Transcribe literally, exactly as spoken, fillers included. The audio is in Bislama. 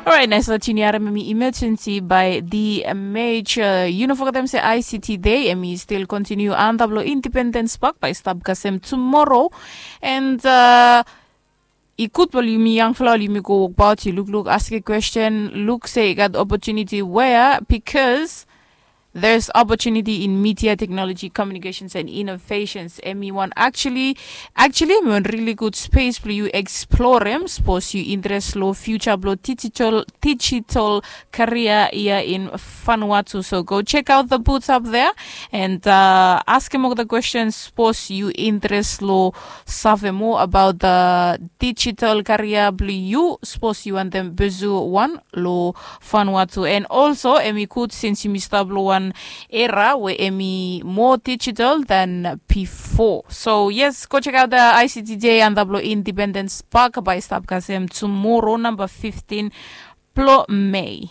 Orait, naes latin yu harim em i emergency by the major. Yu no fogetem se I C T day em i stil kontiniu antap long Independence Park by stap kasem tumoro. And uh, i gud blo yumi yangfala ol yumi go wokbaot, yu lukluk, aske kwesten, luk se i gat opportunity wea, because there's opportunity in media, technology, communications and innovations. Em i wan actually actually em i wan really good space blo yu explorem, sapos yu interes lo future blo digital digital career ia in Vanuatu. So go check out the booths up there and uh, askem olgeta questions, sapos yu interes lo save more about the digital career blo yu, sapos yu wantem pursue wan lo Vanuatu. And also em i gud since yumi stap lo wan era we em i more digital than before. So yes, go check out the I C T day antap lo Independence Park by stap kasem tumoro, namba fifteen blo Mei.